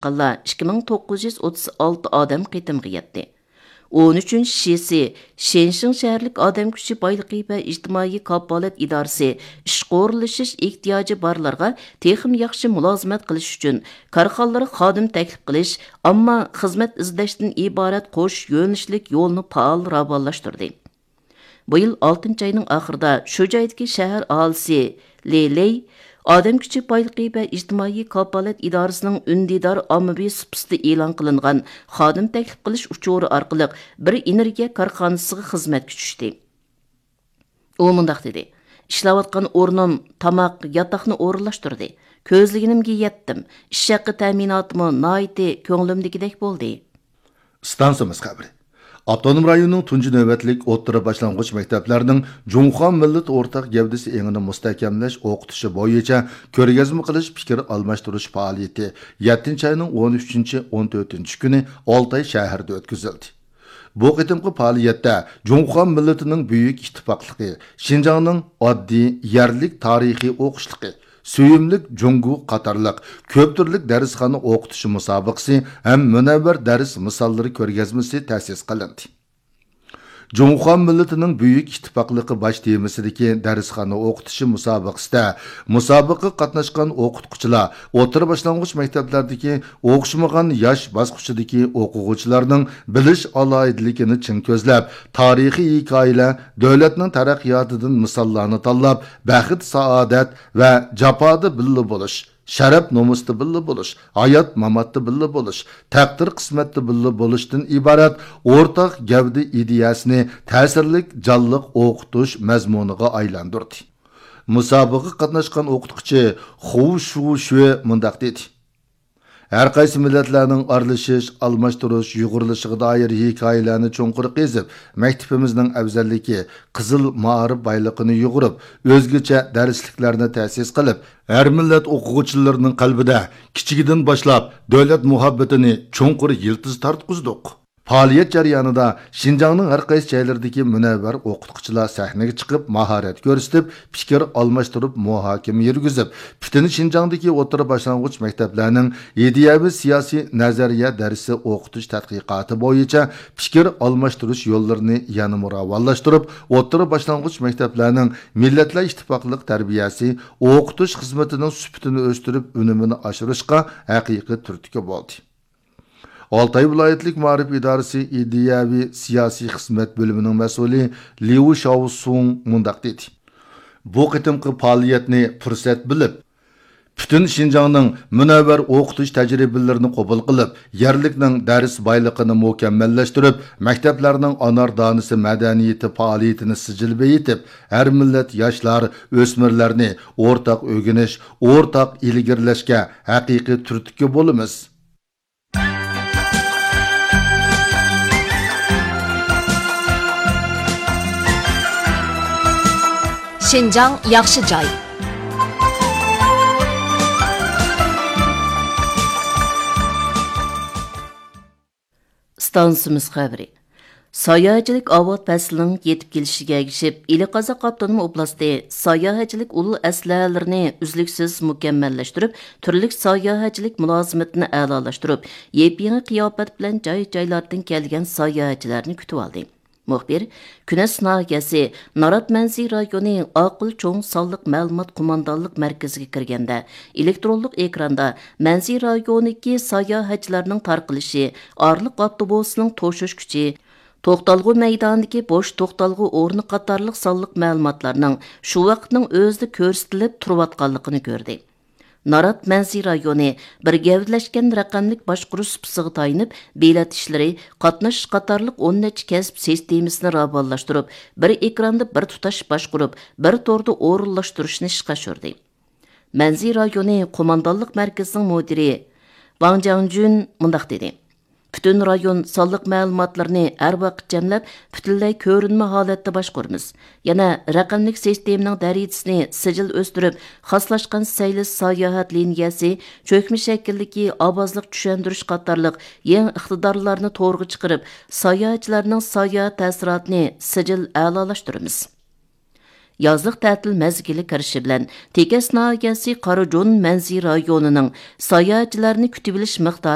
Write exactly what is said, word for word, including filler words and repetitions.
قالغانلار ئىككى مىڭ توققۇز يۈز ئوتتۇز ئالتە ئادەم قېتىمغا يەتتى. ئون ئۈچىنچى شىسى، شېنشىڭ شەھەرلىك ئادەم كۈچى بايلىقى ۋە ئىجتىمائىي كاپالەت ئىدارىسى ئىشقا ئورۇنلىشىش ئېھتىياجى بارلارغا تېخىمۇ ياخشى مۇلازىمەت قىلىش ئۈچۈن كارخانىلارغا خادىم تەكلىپ قىلىش، ئامما خىزمەت ئىزدەشتىن ئىبارەت قوش يۆنىلىشلىك يولنى پائال راۋانلاشتۇردى. بۇ يىل ئالتىنچى ئاينىڭ ئاخىرىدا شۇ جايدىكى شەھەر ئاھالىسى لى لېي ئادەم كۈچى بايلىقى ۋە ئىجتىمائىي كاپالەت ئىدارىسىنىڭ ئۈندىدار ئاممىۋى سۇپىسىدا ئېلان قىلىنغان خادىم تەكلىپ قىلىش ئۇچۇرى ئارقىلىق بىر ئېنېرگىيە كارخانىسىغا خىزمەتكە چۈشتى. ئۇ مۇنداق دېدى: «ئىشلەۋاتقان ئورنۇم تاماق، ياتاقنى ئورۇنلاشتۇردى. كۆزلىگىنىمگە يەتتىم. ئىش ھەققى تەمىناتىمۇ ناھايىتى كۆڭلۈمدىكىدەك بولدى.» ئىستانسىمىز خەۋىرى. ئاپتونوم رايوننىڭ تۇنجى نۆۋەتلىك ئوتتۇرا باشلانغۇچ مەكتەپلەرنىڭ جۇڭخۇا مىللىتى ئورتاق گەۋدىسى ئېڭىنى مۇستەھكەملەش ئوقۇتۇشى بويىچە كۆرگەزمە قىلىش، پىكىر ئالماشتۇرۇش پائالىيىتى يەتتىنچى ئاينىڭ ئون ئۈچىنچى، ئون تۆتىنچى كۈنى ئالتاي شەھىرىدە ئۆتكۈزۈلدى. بۇ قېتىمقى پائالىيەتتە جۇڭخۇا مىللىتىنىڭ بۈيۈك ئىتتىپاقلىقى، شىنجاڭنىڭ ئاددىي، يەرلىك تارىخىي ئوقۇشلۇقى، سۆيۈملۈك جۇڭگو قاتارلىق كۆپ تۈرلۈك دەرسخانا ئوقۇتۇشى مۇسابىقىسى ھەم مۇنەۋۋەر دەرس مىساللىرى كۆرگەزمىسى تەسىس قىلىندى. جۇڭخۇا مىللىتىنىڭ بۈيۈك ئىتتىپاقلىقى باش تېمىسىدىكى دەرسخانا ئوقۇتۇشى مۇسابىقىسىدە مۇسابىقىگە قاتناشقان ئوقۇتقۇچىلار ئوتتۇرا باشلانغۇچ مەكتەپلەردىكى ئوخشىمىغان ياش باسقۇچىدىكى ئوقۇغۇچىلارنىڭ بىلىش ئالاھىدىلىكىنى چىڭ كۆزلەپ، تارىخىي ھېكايىلەر، دۆلەتنىڭ تەرەققىياتىدىن مىساللارنى تاللاپ، بەخت-سائادەت ۋە جاپادا بىللە بولۇش، شەرەپ-نومۇستا بىللە بولۇش، ھايات-ماماتتا بىللە بولۇش، تەقدىر-قىسمەتتە بىللە بولۇشتىن ئىبارەت ئورتاق گەۋدە ئىدىيەسىنى تەسىرلىك، جانلىق ئوقۇتۇش مەزمۇنىغا ئايلاندۇردى. مۇسابىقىگە قاتناشقان ئوقۇتقۇچى خۇ شۇ شۈې مۇنداق دېدى: «ھەر قايسى مىللەتلەرنىڭ ئارىلىشىش، ئالماشتۇرۇش، يۇغۇرۇلۇشىغا دائىر ھېكايىلەرنى چوڭقۇر قېزىپ، مەكتىپىمىزنىڭ ئەۋزەللىكى، قىزىل مائارىپ بايلىقىنى يۇغۇرۇپ، ئۆزگىچە دەرسلىكلەرنى تەسىس قىلىپ، ھەر مىللەت ئوقۇغۇچىلىرىنىڭ قەلبىدە كىچىكىدىن باشلاپ دۆلەت مۇھەببىتىنى چوڭقۇر يىلتىز تارتقۇزدۇق.» پائالىيەت جەريانىدا شىنجاڭنىڭ ھەر قايسى جايلىرىدىكى مۇنەۋۋەر ئوقۇتقۇچىلار سەھنىگە چىقىپ، ماھارەت كۆرسىتىپ، پىكىر ئالماشتۇرۇپ، مۇھاكىمە يۈرگۈزۈپ، پۈتۈن شىنجاڭدىكى ئوتتۇرا باشلانغۇچ مەكتەپلەرنىڭ ئىدىيەۋى سىياسىي نەزەرىيە دەرسى ئوقۇتۇش تەتقىقاتى بويىچە پىكىر ئالماشتۇرۇش يوللىرىنى يەنىمۇ راۋانلاشتۇرۇپ، ئوتتۇرا باشلانغۇچ مەكتەپلەرنىڭ مىللەتلەر ئىتتىپاقلىق تەربىيەسى ئوقۇتۇش خىزمىتىنىڭ سۈپىتىنى ئۆستۈرۈپ، ئۈنۈمىنى ئاشۇرۇشقا ھەقىقىي تۈرتكە بولدى. ئالتاي ۋىلايەتلىك مائارىپ ئىدارىسى ئىدىيەۋى سىياسىي خىزمەت بۆلۈمىنىڭ مەسئۇلى ليۇ شاۋسۇڭ مۇنداق دېدى: «بۇ قېتىمقى پائالىيەتنى پۇرسەت بىلىپ، پۈتۈن شىنجاڭنىڭ مۇنەۋۋەر ئوقۇتۇش تەجرىبىلىرىنى قوبۇل قىلىپ، يەرلىكنىڭ دەرس بايلىقىنى مۇكەممەللەشتۈرۈپ، مەكتەپلەرنىڭ ئانار دانىسى مەدەنىيىتى پائالىيىتىنى سىجىل بېيىتىپ، ھەر مىللەت ياشلار، ئۆسمۈرلەرنى ئورتاق ئۆگىنىش، ئورتاق ئىلگىرىلەشكە ھەقىقىي تۈرتكە بولىمىز.» شىنجاڭ ياخشى جاي. ئىستانسىمىز خەۋىرى. ساياھەتچىلىك ئاۋات پەسلىنىڭ يېتىپ كېلىشىگە ئەگىشىپ، ئىلى قازاق ئاپتونوم ئوبلاستى ساياھەتچىلىك ئۇل ئەسلىھەلىرىنى ئۈزلۈكسىز مۇكەممەللەشتۈرۈپ، تۈرلۈك ساياھەتچىلىك مۇلازىمىتىنى ئەلالاشتۇرۇپ، يېپيېڭى قىياپەت بىلەن جاي-جايلاردىن كەلگەن ساياھەتچىلەرنى كۈتۈۋالدى. مۇخبىر كۈنەس ناھىيەسى نارات مەنزىرە رايونى ئاقىل چوڭ سانلىق مەلۇمات قوماندانلىق مەركىزىگە كىرگەندە، ئېلېكترونلۇق ئېكراندا مەنزىرە رايونىدىكى ساياھەتچىلەرنىڭ تارقىلىشى، ئارىلىق ئاپتوبۇسىنىڭ توشۇش كۈچى، توختالغۇ مەيدانىدىكى بوش توختالغۇ ئورنى قاتارلىق سانلىق مەلۇماتلارنىڭ شۇ ۋاقىتنىڭ ئۆزىدە كۆرسىتىلىپ تۇرۇۋاتقانلىقىنى كۆردى. نارات مەنزىرە رايونى بىر گەۋدىلەشكەن رەقەملىك باشقۇرۇش سۇپىسىغا تايىنىپ، بېلەت ئىشلىرى، قاتنىشىش قاتارلىق ئون نەچچە كەسىپ سىستېمىسىنى راۋانلاشتۇرۇپ، بىر ئېكراندا بىر تۇتاش باشقۇرۇپ، بىر توردا ئورۇنلاشتۇرۇشنى ئىشقا ئاشۇردى. مەنزىرە رايونى قوماندانلىق مەركىزىنىڭ مۇدىرى ۋاڭ جياڭجۈن مۇنداق دېدى: «پۈتۈن رايون سانلىق مەلۇماتلىرىنى ھەر ۋاقىت جەملەپ، پۈتۈنلەي كۆرۈنمە ھالەتتە باشقۇرىمىز. يەنە رەقەملىك سىستېمىنىڭ دەرىجىسىنى سىجىل ئۆستۈرۈپ، خاسلاشقان سەيلىس ساياھەت لىنىيەسى، چۆكمە شەكىلدىكى ئاۋازلىق چۈشەندۈرۈش قاتارلىق يېڭى ئىقتىدارلارنى تورغا چىقىرىپ، ساياھەتچىلەرنىڭ ساياھەت تەسىراتىنى سىجىل ئەلالاشتۇرىمىز.» يازلىق تەتىل مەزگىلى كىرىشى بىلەن تېكەس ناھىيەسى قاراجون مەنزىرە رايونىنىڭ ساياھەتچىلەرنى كۈتۈۋېلىش مىقدارى